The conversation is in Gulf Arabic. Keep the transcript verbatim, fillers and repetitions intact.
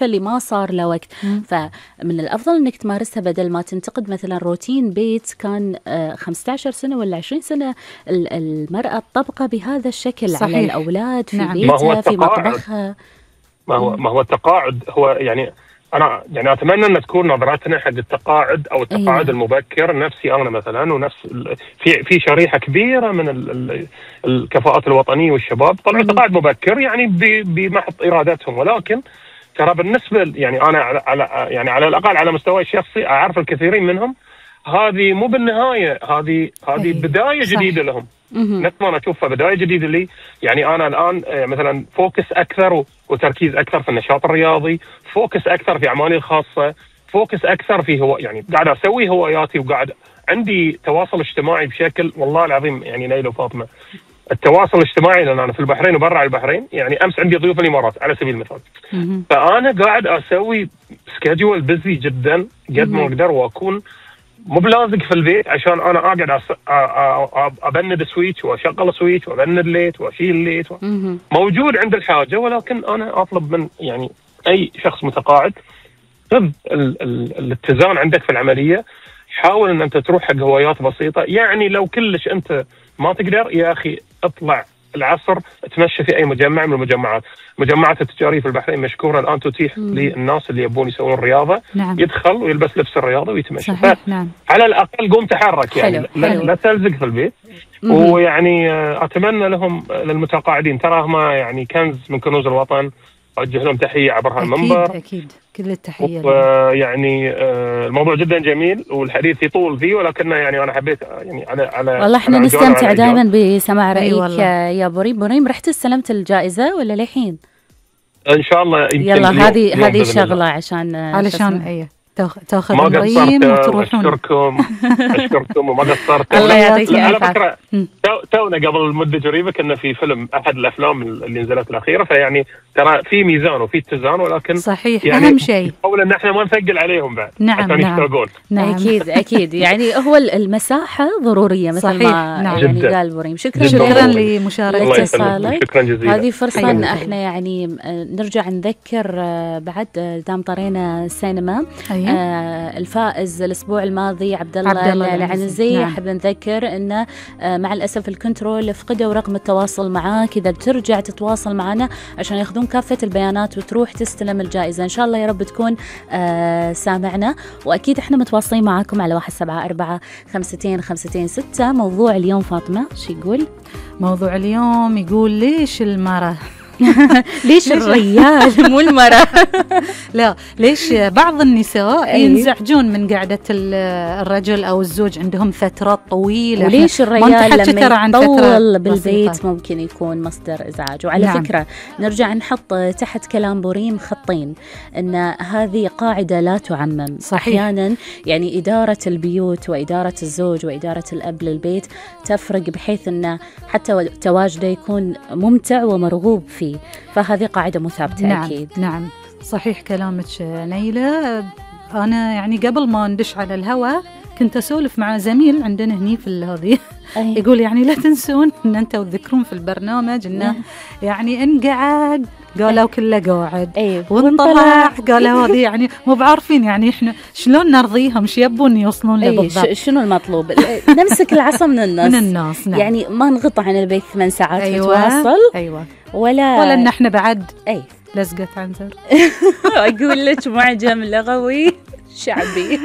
الوظيفة اللي ما صار له وقت. مم. فمن الأفضل أنك تمارسها بدل ما تنتقد مثلا روتين بيت كان خمسة عشر سنة ولا عشرين سنة المرأة طبقة بهذا الشكل. صحيح. على الأولاد في نعم. بيتها في مطبخها. ما هو ما هو التقاعد هو يعني أنا يعني أتمنى أن تكون نظرتنا حق التقاعد أو التقاعد أيه. المبكر نفسي أنا مثلا ونفس في في شريحة كبيرة من ال ال الكفاءات الوطنية والشباب طلعوا تقاعد مبكر يعني بمحض إرادتهم، ولكن ترى بالنسبة يعني أنا على, على يعني على الأقل على مستوى الشخصي أعرف الكثيرين منهم هذه مو بالنهاية، هذه هذه أيه. بداية صح. جديدة لهم. نفس ما أنا أشوفها بداية جديدة لي. يعني أنا الآن مثلا فوكس أكثر وتركيز أكثر في النشاط الرياضي، فوكس أكثر في أعمالي الخاصة، فوكس أكثر في هو يعني قاعد أسوي هواياتي وقاعد عندي تواصل اجتماعي بشكل والله العظيم. يعني نيلة وفاطمة التواصل الاجتماعي لأن أنا في البحرين وبرا البحرين، يعني أمس عندي ضيوف الإمارات على سبيل المثال، فأنا قاعد أسوي سكيدول بيزي جدا قد ما أقدر وأكون مو بلازق في البيت عشان انا اقعد ابند سويتش واشغل سويتش وابند ليت واشيل ليت و... موجود عند الحاجه، ولكن انا اطلب من يعني اي شخص متقاعد خذ ال ال الاتزان عندك في العمليه، حاول ان انت تروح حق هوايات بسيطه. يعني لو كلش انت ما تقدر يا اخي اطلع العصر تمشي في اي مجمع من المجمعات. مجمعات التجاريه في البحرين مشكوره الان تتيح مم. للناس اللي يبون يسوون رياضه نعم. يدخل ويلبس لبس الرياضه ويتمشى. نعم. على الاقل قوم تحرك يعني حلو. لا, حلو. لا تلزق في البيت. مم. ويعني اتمنى لهم للمتقاعدين تراهم يعني كنز من كنوز الوطن، اوجه لهم تحيه عبر هالمنبر. اكيد اكيد كل التحيه. ويعني الموضوع جدا جميل والحديث يطول فيه، ولكن يعني انا حبيت يعني على على والله احنا نستمتع دائما بسماع رايك يا بريم. بريم رحت استلمت الجائزه ولا للحين؟ ان شاء الله. يلا هذه هذه شغله عشان علشان ايه تاخذ مريم وتروحون. اشكركم اشكركم وما قصرت. الله يعطيك على فكره تونا قبل مده قريبه كنا في فيلم احد الافلام اللي نزلت الاخيره، فيعني ترى في ميزان وفي اتزان، ولكن صحيح يعني اهم شيء حاول ان احنا ما نثقل عليهم بعد نعم عشان نعم. يشتاقون. نعم اكيد اكيد يعني هو المساحه ضروريه مثل صحيح. ما نعم. يعني قال بريم. شكرا شكرا لمشاركتك اتصالك. شكرا جزيلا. هذه فرصه ان احنا يعني نرجع نذكر بعد دام طرينا السينما. أيه. آه الفائز الاسبوع الماضي عبد الله العنزي. نعم. احب نذكر انه آه مع الاسف الكنترول فقدوا رقم التواصل معاك، اذا بترجع تتواصل معنا عشان ياخذون كافه البيانات وتروح تستلم الجائزه. ان شاء الله يا رب تكون آه سامعنا، واكيد احنا متواصلين معاكم على واحد سبعة أربعة خمستين خمستين ستة. موضوع اليوم فاطمه شو يقول؟ موضوع اليوم يقول ليش المرأة ليش الرجال مو المرأة؟ لا ليش بعض النساء ينزعجون من قعدة الرجل أو الزوج عندهم فترات طويلة، وليش الرجال لما يطول بالبيت بسيطة. ممكن يكون مصدر إزعاج. وعلى نعم. فكرة نرجع نحط تحت كلام بريم خطين إن هذه قاعدة لا تعمم. صحيح. أحيانا يعني إدارة البيوت وإدارة الزوج وإدارة الأب للبيت تفرق بحيث أن حتى تواجده يكون ممتع ومرغوب فيه، فهذه قاعدة مثابتة. نعم. أكيد نعم صحيح كلامك نيلة. أنا يعني قبل ما ندش على الهواء كنت أسولف مع زميل عندنا هني في هذه يقول يعني لا تنسون أن أنتوا تذكرون في البرنامج أنه يعني إن قعد قالوا كله قاعد أيه. وانطلع قالوا هذه يعني مو بعارفين يعني إحنا شلون نرضيهم، شو يبون يوصلون له بالضبط. أيه. شنو المطلوب؟ نمسك العصا من الناس. من الناس نعم. يعني ما نغطى عن البيت ثمان ساعات أيوة. نتواصل. أيوة. ولا ولا إن إحنا بعد أي لزقة عنزر. أقول لك معجم لغوي شعبي.